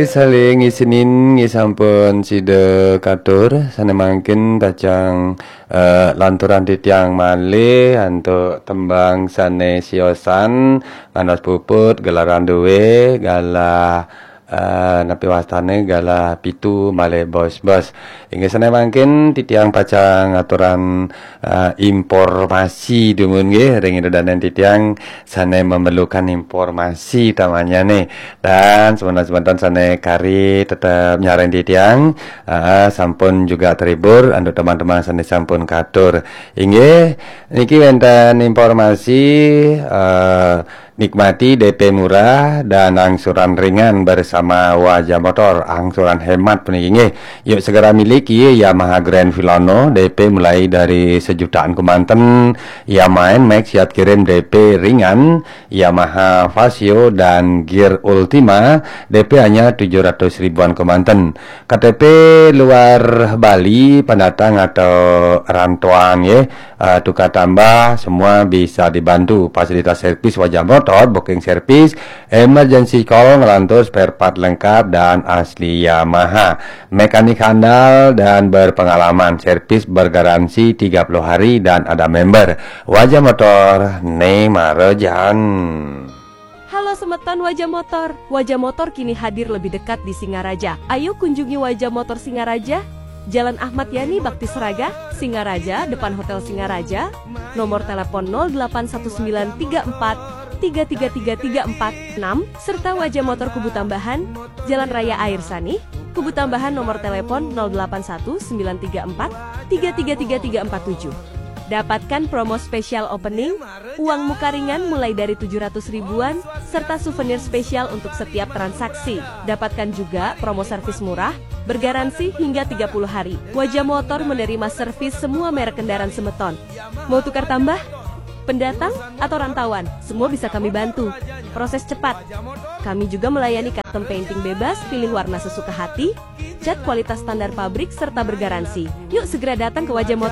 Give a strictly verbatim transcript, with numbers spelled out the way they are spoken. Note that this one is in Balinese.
Saling isinin nggih sampun sida katur, sane mangkin pacang eh, lanturan titiang malih antuk tembang sane siosan, ngantos puput, gelaran duwe, galah eh, napi wastane, galah pitu malih bos-bos. Inggih sane mangkin titiang pacang ngaturan eh, informasi dumun nggih ring ida danen titiang sane memerlukan informasi tamanyane. Dan semeton-semeton sane kari tetep nyareng titiang, ah, sampun juga terhibur antuk teman-teman sane sampun katur. Inggih, niki wenten informasi eh, nikmati D P murah dan angsuran ringan bersama Wajah Motor, angsuran hemat puniki nggih. Yuk segera miliki Yamaha Grand Filano, D P mulai dari sejutaan kemanten, Yamaha Nmax siap kirim D P ringan, Yamaha Fazzio dan Gear Ultima, D P hanya tujuh ratus ribuan kemanten. K T P luar Bali, pendatang atau rantauan nggih, eh, tukar tambah, semua bisa dibantu. Fasilitas servis Wajah Motor, booking servis, emergency call, ngelantur spare part lengkap dan asli Yamaha. Mekanik handal dan berpengalaman, servis bergaransi tiga puluh hari dan ada member. Wajah Motor, ne mara jaan. Halo semeton Wajah Motor. Wajah Motor kini hadir lebih dekat di Singaraja. Ayo kunjungi Wajah Motor Singaraja, Jalan Ahmad Yani Bakti Seraga, Singaraja, depan Hotel Singaraja. Nomor telepon nol delapan satu sembilan tiga empat tiga tiga tiga tiga empat enam, serta Wajah Motor Kubu Tambahan, Jalan Raya Air Sanih, Kubu Tambahan, nomor telepon nol delapan satu sembilan tiga empat tiga tiga tiga tiga empat tujuh. Dapatkan promo spesial opening, uang muka ringan mulai dari tujuh ratus ribuan, serta souvenir spesial untuk setiap transaksi. Dapatkan juga promo servis murah, bergaransi hingga tiga puluh hari. Wajah Motor menerima servis semua merek kendaraan semeton. Mau tukar tambah? Pendatang atau rantauan? Semua bisa kami bantu. Proses cepat. Kami juga melayani custom painting bebas, pilih warna sesuka hati, cat kualitas standar pabrik, serta bergaransi. Yuk segera datang ke Wajah Motor.